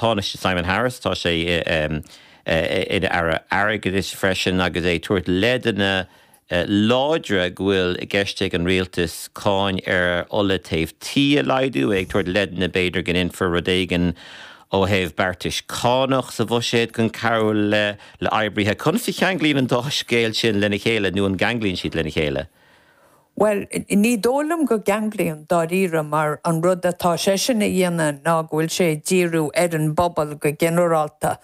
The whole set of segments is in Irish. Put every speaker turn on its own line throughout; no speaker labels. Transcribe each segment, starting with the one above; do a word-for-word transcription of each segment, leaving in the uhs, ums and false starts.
Tánaiste Simon Harris tá sé ina aire airgeadais freisin agus é ag tabhairt leideanna láidre go bhfuil i gceist ag an rialtas cáin ar ola téimh tí a laghdú, ag tabhairt leideanna b'fhéidir go ndéanfar rud éigin ó thaobh beartais cánach sa bhuiséad chun cabhrú le le oibrithe. Conas a cheanglaíonn an dá scéal sin lena chéile nó an gceanglaíonn siad lena chéile?
Well, ní dóigh liom go gceanglaíonn dáiríre mar an rud atá seisean a dhéanamh ná go bhfuil sé ag díriú ar an bpobal go ginearálta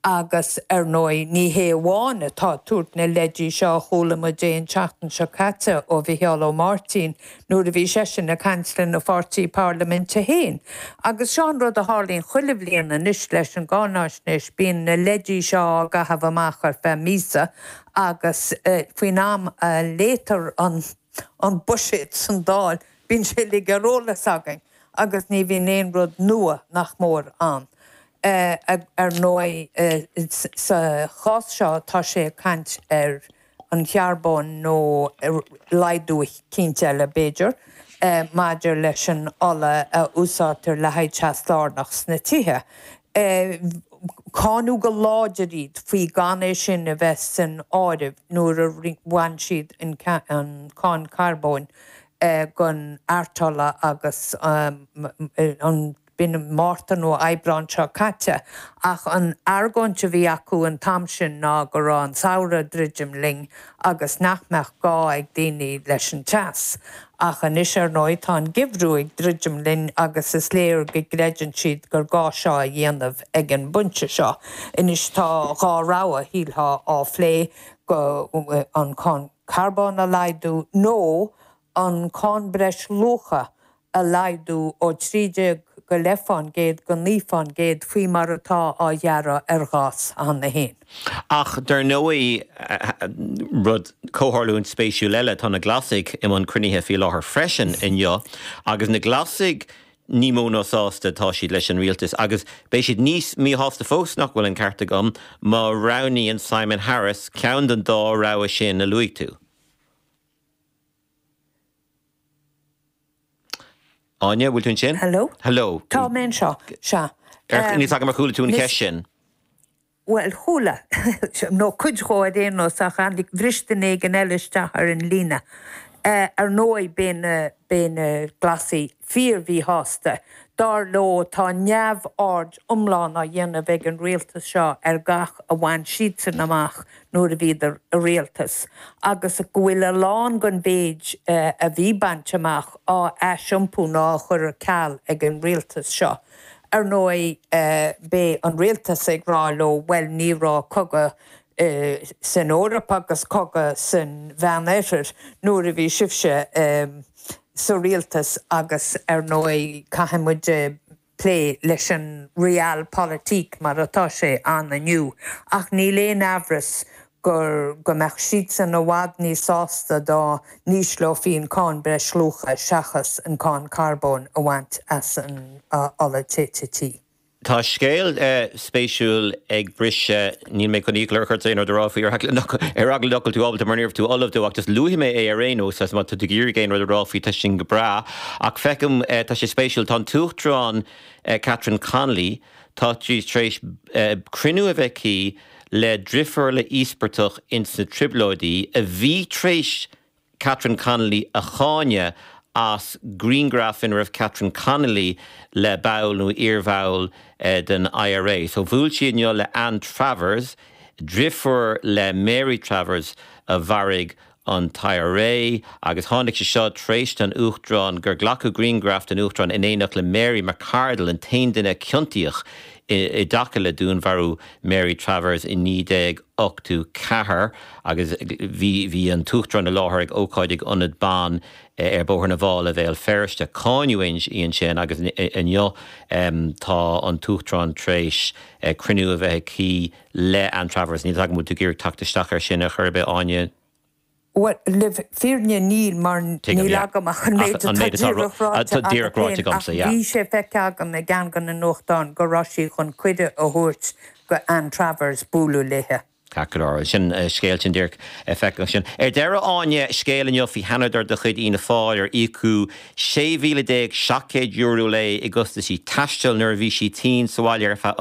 agus ar ndóigh ní hé amháin atá ag tabhairt na leidí seo a chuala muid é an tseachtain seo caite ó Mhicheál Ó Máirtín nuair a bhí seisean ag caint lena pháirtí parlaiminte féin. Agus seo an rud a tharlaíonn chuile bhliain anois leis an gcáinaisnéis, bíonn na leidí seo á gcaitheamh amach ar feadh míosa agus faoin am a léitear an an buiséad san Dáil bíonn sé uilig ar eolas againn agus ní bhíonn aon rud nua nach mór ann. Ar ndóigh, sa chás seo tá sé ag caint ar an charbón nó laghdú eicínt eile, b'fhéidir, maidir leis an ola a úsáidtear le haghaidh teas lárnach sna tithe. Cáineadh go láidir iad faoi gan é sin a bheith san áireamh nuair a bhain siad an cáin charbóin den artola agus an B'in Márta nó Aibreán seo caite, ach an argóint a bhí acu an t-am sin ná go raibh an samhradh ag druidim linn agus nach mbeadh gá ag daoine leis an teas. Ach anois, ar ndóigh, tá an geimhreadh ag druidim linn agus is léir go gcreideann siad gur gá seo a dhéanamh ag an bpointe seo. Anois tá dhá rogha, shílfeá, á phlé, go an cáin carbóin a laghdú nó an cáin breisluacha a laghdú ó trí déag go leith fán gcéad go naoi fán gcéad faoi mar atá á ghearradh ar ghás cheana féin.
Ach dar ndóigh, rud, comhtharlúint spéisiúil eile, tá na Glasaigh i mbun cruinnithe faoi láthair freisin inniu agus na Glasaigh ní mó ná sásta atá siad leis an rialtas agus beidh siad níos míshásta fós, nach bhfuil an ceart agam, má roghnaíonn Simon Harris ceann den dá rogha sin a luaigh tú. Áine, bhfuil tú ansin?
Hello?
Hello.
Tá mé anseo, sea.
Níl 's agam ar chuala tú an cheist sin.
Bhuel, chuala, nó cuid dhó ar aon nós, ach tháinig, bhris duine éigin eile isteach ar an líne. Ar ndóigh, beidh na, beidh na Glasaigh fíor-mhíshásta. Dar leo, tá neamhaird iomlán á dhéanamh ag an rialtas seo ar gach a bhain siadsan amach nuair a bhíodar i rialtas, agus go bhfuil a lán den mhéid a bhí bainte amach á aisiompú nó á chur ar ceal ag an rialtas seo. Ar ndóigh, beidh an rialtas ag rá leo, bhuel, ní raibh cogadh san Eoraip agus cogadh san Mheánoirthear nuair a bhí sibhse sa rialtas agus ar ndóigh caithfidh muid plé leis an realpolitik mar atá sé ann inniu. Ach níl aon amhras gur go mbeadh siadsan i bhfad níos sásta dá n-ísleofaí an cáin breisluacha seachas an cáin carbóin a bhaint as an ola téite tí.
Tá scéal spéisiúil ag briseadh, níl mé chun iachall ort aon rud a rá faoi ar eagla nach bhfuil tú ábalta mar ní raibh tú ullamh dó ach just luafaidh mé é ar aon nós agus má tá tú ag iarraidh aon rud a rá faoi tá sin go breá ach feicim tá sé spéisiúil tá an tUachtarán Catherine Connolly tá sí tar éis cruinniú a bheith aici le driofúr le íospartach ins na Trioblóidí a bhí tar éis Catherine Connolly a cháineadh as grianghraf ina raibh Catherine Connolly le ball nó iarbhall den IRA. So bhuail sí inniu le Ann Travers, driofúr le Mary Travers a mharaigh an t-IRA agus tháinig sé seo tar éis don Uachtarán gur glacadh grianghraf den Uachtarán in éineacht le Mary McCardle, an t-aon duine a ciontaíodh i dtaca le dúnmharú Mary Travers i naoi déag ochtó ceathair agus bhí bhí an tUachtarán i láthair ag ócáid ag Ionad Ban ar Bhóthar na bhFál i Bhéal Feirste. Cáineadh í ansin agus inniu tá an tUachtarán tar éis cruinniú a bheith aici le Ann Travers. Níl 's agam an bhfuil tú ag iarraidh teacht isteach air sin ar chor ar bith, Áine?
Bhuel, le fírinne níl, mar
Tuigim,
níl
yeah.
agam ach an
Ach
méid
an
atá
méid atá
díreach ráite
atá
agat
díreach ráite
féin, ach
agamsa, yeah.
bhí sé feicthe agam i gceann de na nuachtáin go raibh sí chun cuireadh a thabhairt go Ann Travers bualadh léithe.
Ceart go leor, sin scéal sin díreach feicthe ansin. Ar deireadh, Áine, scéal inniu faoi sheanadóir de chuid Fhianna Fáil ar íocadh sé mhíle déag seacht gcéad euro léi i gcostaisí taistil nuair a bhí sí tinn sa bhaile ar feadh